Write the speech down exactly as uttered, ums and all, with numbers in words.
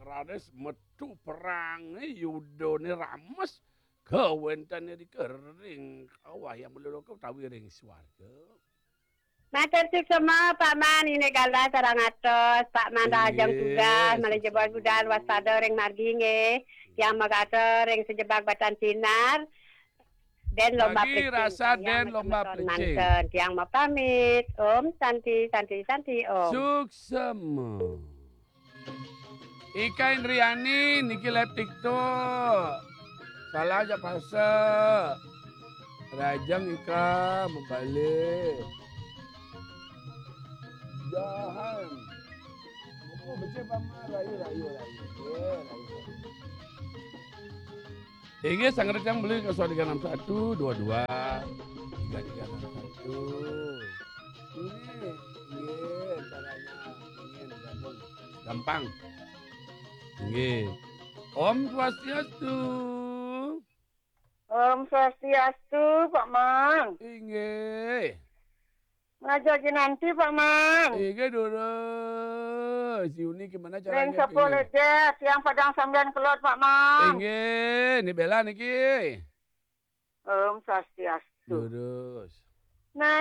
Raris metu perange yudane rames, kawenten irika ring kawah yang maloloka utawi ring swarga. Matur suksma, Pak Man, inggih galah sareng atos, Pak Man rahajeng tugas, malih jebos budal waspada ring margi nggih. Tiang makatur ring sajebag batan sinar, den lomba plecing. Rasa den lomba plecing. Manten. Tiang mapamit. Om Santi, Santi, Santi, Om. Suksma. Ika Indriani niki live TikTok. Salah aja pasa. Rajang Ika mabalik. Jahan. Buku becik pama rayu, rayu, rayu. Eh, rayu. Inggih, sang rencang beli ke tiga enam satu dua dua tiga tiga enam satu. Ini, inggih, caranya ingin gabung. Gampang. Inggih. Om Swastiastu. Om Swastiastu, Pak Man. Inggih. Ngaja Jinanti, Pak Man. Inggih, durus. Si Uni gimana caranya? Neng sepuluh jet, yang Padang Sambian Kelot, Pak Man. Inggih, ni Bella niki. Om Swastiastu. Durus. Nah,